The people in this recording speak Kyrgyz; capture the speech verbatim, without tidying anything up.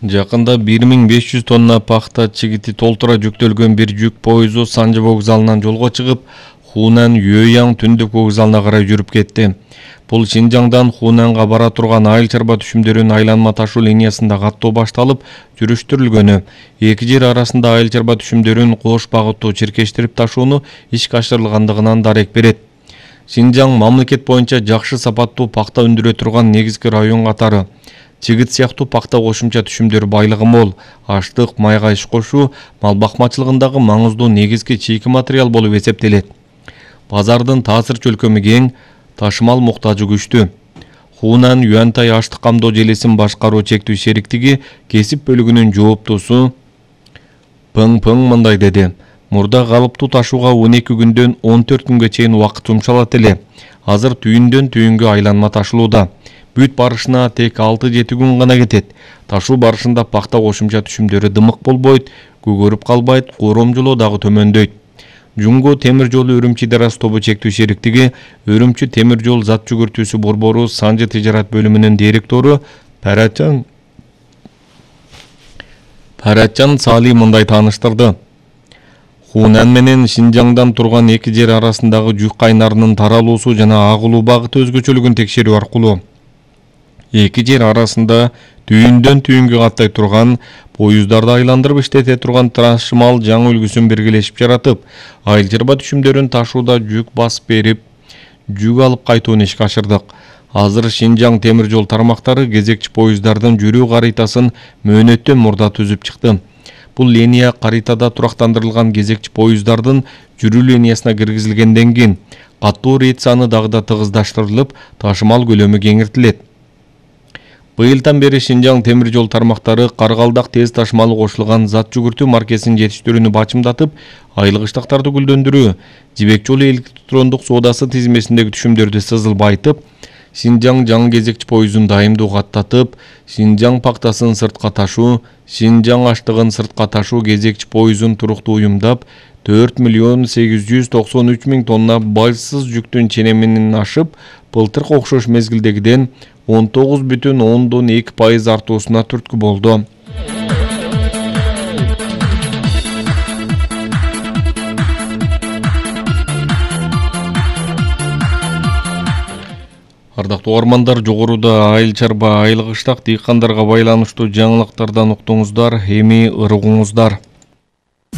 Жакында бир миң беш жүз тонна пахта чигити толтура жүктөлгөн бир жүк поезу Санжы вокзалынан жолго чыгып, Хунан Юэяң түндүк вокзалына карай жүрүп кетти. Бул Шинжаңдан Хунанга бара турган айыл чарба түшүмдөрүнүн айланма ташуу линиясында каттоо башталып, жүрүштүрүлгөнү, эки жер арасында айыл чарба түшүмдөрүн кош багыттуу чиркештирип ташууну ишке ашырылгандыгынан дарек берет. Шинжаң мамлекет боюнча жакшы сапаттуу пахта өндүрө турган негизги район катары. Чигит сыяктуу пахта кошумча түшүмдөрү байлыгы мол, аштык, майга иш кошуу мал бакмачылыгындагы маңыздуу негизги чийки материал болуп эсептелет. Базардын таасир чөлкөмү кең, ташымал муктажы күчтүү. Хунан Юантай аштык камдоо желесин башкаруу чектүү шериктиги кесип бөлүгүнүн жооптусу Пың Пың мындай деди: Мурда калыптуу ташууга он эки күндөн он төрт күнгө чейин убакыт жумшалат эле. Азыр түйүндөн түйүнгө айланма ташылууда. Бүт барышына тек алты жети күн гана кетет. Ташуу барышында пахта кошумча түшүмдөрү дымык болбойт, көгөрүп калбайт, коромжолоо дагы төмөндөйт. Жумго темир жолу Үрүмчи Дарас тобу чектүү шериктиги Үрүмчи темир жол зат жүгүртүүсү борбору Санжы тижарат бөлүмүнүн директору Парачан Парачан Сали мындай тааныштырды. Хунан менен Шинжаңдан турган эки жер арасындагы жүк кайнарынын таралуусу жана агылуу багыты өзгөчөлүгүн текшерүү аркылуу эки жер арасында түйүндөн түйүнгө каттай турган поездарды айландырып иштете турган ташымал жаңы үлгүсүн биргелешип жаратып, айыл чарба түшүмдөрүн ташууда жүк басып берип, жүк алып кайтууну ишке ашырдык. Азыр Шинжаң темир жол тармактары кезекчи поезддардын жүрүү каритасын мөөнөттөн мурда түзүп чыкты. Бул линия каритада турактандырылган кезекчи поезддардын жүрүү линиясына киргизилгенден кийин каттоо рейд саны дагы да тыгыздаштырылып, ташымал көлөмү кеңиртилет. Быйылдан бери Шинжаң темир жол тармактары Каргалдак тез ташымалы кошулган зат жүгүртүү маркесин жетиштирүүнү бачымдатып, айыл кыштактарды гүлдөндүрүү, жибек жолу электрондук соодасы тизмесиндеги түшүмдөрдү сызылбайтып, Шинжаң жаңы кезекчи поездун дайымдуу каттатып, Шинжаң пактасын сыртка ташуу, Шинжаң аштыгын сыртка ташуу кезекчи поездун туруктуу уюмдап, төрт миллион сегиз жүз токсон үч миң тонна байсыз жүктүн ченеминин ашып, былтыркы окшош мезгилдегиден он тогуз бүтүн ондон эки пайыз артуусуна түрткү болду. Ардактуу угармандар, жогоруда айыл чарба, айыл кыштак дыйкандарга байланыштуу жаңылыктардан уктуңуздар, эми ыргуңуздар.